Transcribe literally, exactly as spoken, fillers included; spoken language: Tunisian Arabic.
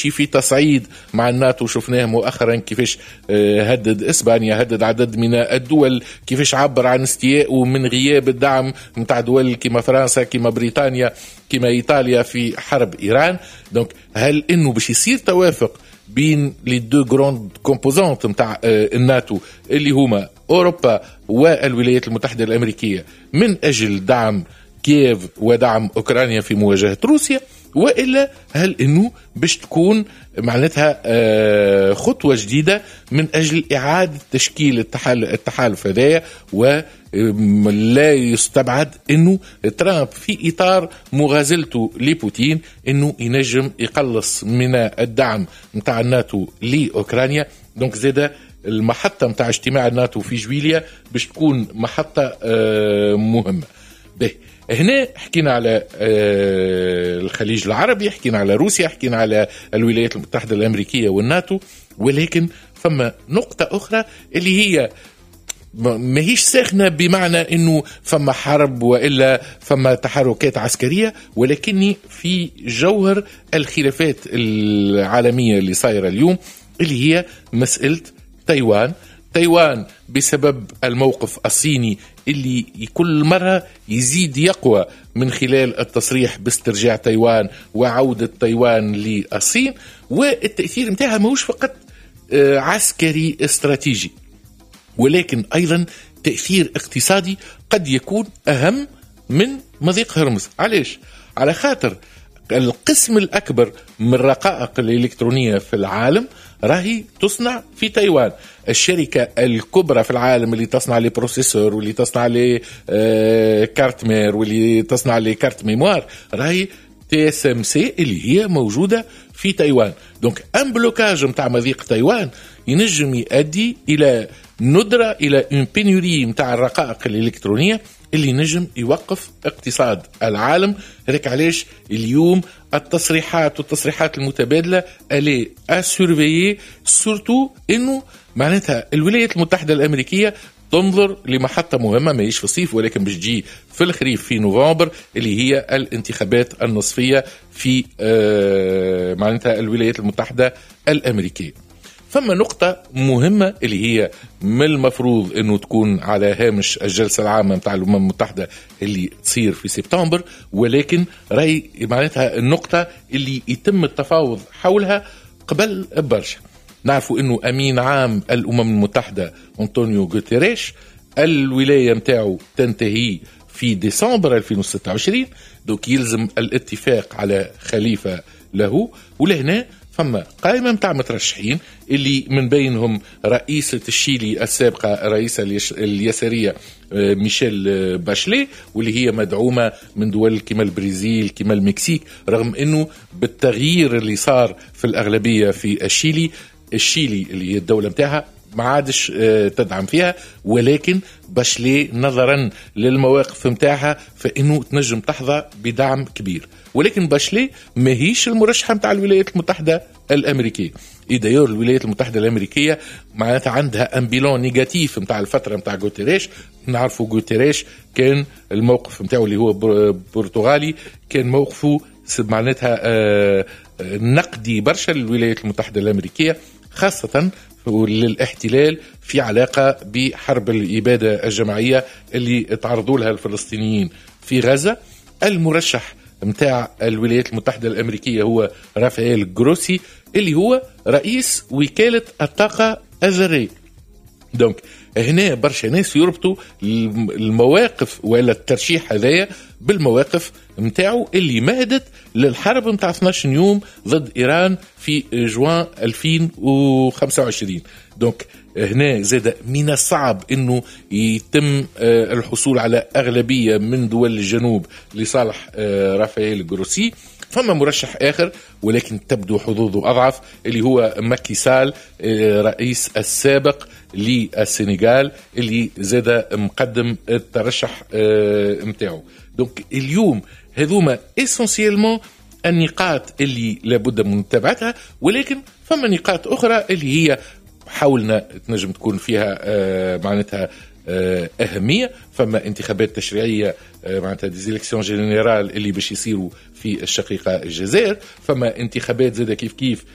في تصعيد مع الناتو. شفناه مؤخرا كيفاش آه، هدد اسبانيا، هدد عدد من الدول، كيفاش عبر عن استيائه من غياب الدعم نتاع دول كما فرنسا، كما بريطانيا، كما ايطاليا في حرب ايران. donc هل انه باش يصير توافق بين les deux grandes composantes نتاع آه، الناتو اللي هما اوروبا والولايات المتحدة الامريكية من اجل دعم كييف ودعم اوكرانيا في مواجهة روسيا، والا هل انه باش تكون معناتها آه، خطوة جديدة من اجل اعاده تشكيل التحالف هذايا؟ ولا يستبعد انه ترامب في اطار مغازلته لبوتين انه ينجم يقلص من الدعم نتاع الناتو لاوكرانيا. donc زاده المحطة نتاع اجتماع الناتو في جويليا باش تكون محطة آه، مهمه. به هنا حكينا على آه، الخليج العربي، حكينا على روسيا، حكينا على الولايات المتحدة الأمريكية والناتو، ولكن فما نقطة أخرى اللي هي ماهيش ساخنة بمعنى انه فما حرب والا فما تحركات عسكريه، ولكني في جوهر الخلافات العالمية اللي صايرة اليوم، اللي هي مسالة تايوان. تايوان بسبب الموقف الصيني اللي كل مرة يزيد يقوى من خلال التصريح باسترجاع تايوان وعودة تايوان للصين، والتأثير متاعها ماهوش فقط آه، عسكري استراتيجي ولكن أيضا تأثير اقتصادي قد يكون أهم من مضيق هرمز. علاش؟ على خاطر القسم الأكبر من الرقائق الإلكترونية في العالم راهي تصنع في تايوان. الشركة الكبرى في العالم اللي تصنع les processeurs واللي تصنع les آه، cartes mères واللي تصنع les cartes mémoire راهي TSMC اللي هي موجودة في تايوان. donc un blocage نتاع مضيق تايوان ينجم يؤدي الى ندره، الى une pénurie نتاع الرقائق الالكترونية اللي نجم يوقف اقتصاد العالم. هذاك علاش اليوم التصريحات والتصريحات المتبادلة elle est à surveiller، surtout انه معناتها الولايات المتحدة الامريكية تنظر لمحطة مهمة ماهيش في الصيف ولكن باش تجي في الخريف في نوفمبر، اللي هي الانتخابات النصفية في آه، معناتها الولايات المتحدة الأمريكية. فما نقطة مهمة اللي هي من المفروض انه تكون على هامش الجلسة العامة متاع الأمم المتحدة اللي تصير في سبتمبر، ولكن راي معناتها النقطة اللي يتم التفاوض حولها قبل برشا. نعرفوا انه امين عام الامم المتحدة انطونيو غوتيريش الولاية متاعه تنتهي في ديسمبر ألفين وستة وعشرين، donc يلزم الاتفاق على خليفة له. ولهنا فما قائمة متاع مترشحين اللي من بينهم رئيسة الشيلي السابقة، رئيسة اليسارية آه، ميشيل باشلي، واللي هي مدعومة من دول كما البرازيل، كما المكسيك، رغم انه بالتغيير اللي صار في الأغلبية في الشيلي، الشيلي اللي هي الدولة متاعها ما عادش آه، تدعم فيها، ولكن باشلي نظرا للمواقف متاعها فإنه تنجم تحظى بدعم كبير. ولكن باشلي ماهيش المرشحة متاع الولايات المتحدة الأمريكية. et d'ailleurs الولايات المتحدة الأمريكية معناتها عندها un bilan négatif متاع الفترة متاع غوتيريش. نعرفوا غوتيريش كان الموقف متاعه، اللي هو برتغالي، كان موقفه معناتها آه، نقدي برشا للولايات المتحدة الأمريكية، خاصة للاحتلال في علاقة بحرب الإبادة الجماعية اللي تعرضوا لها الفلسطينيين في غزة. المرشح متاع الولايات المتحدة الأمريكية هو رافائيل جروسي اللي هو رئيس وكالة الطاقة الذرية. donc هنا برشا ناس يربطوا المواقف ولا الترشيح هذايا بالمواقف نتاعو اللي مهدت للحرب نتاع اثناش يوم ضد ايران في جوان ألفين وخمسة وعشرين. donc هنا زاد من الصعب انه يتم آه، الحصول على اغلبية من دول الجنوب لصالح آه، رافائيل جروسي. فما مرشح اخر ولكن تبدو حظوظه اضعف اللي هو ماكي سال، آه، رئيس السابق للسنغال اللي زاد مقدم الترشح نتاعو. donc اليوم هذوما essentiellement النقاط اللي لابد من متابعتها، ولكن فما نقاط اخرى اللي هي حولنا تنجم تكون فيها آه، معناتها آه، أهمية. فما انتخابات تشريعية، آه، معناتها des élections générales اللي باش يصيروا في في الشقيقة الجزائر، فما انتخابات زاد كيف كيف.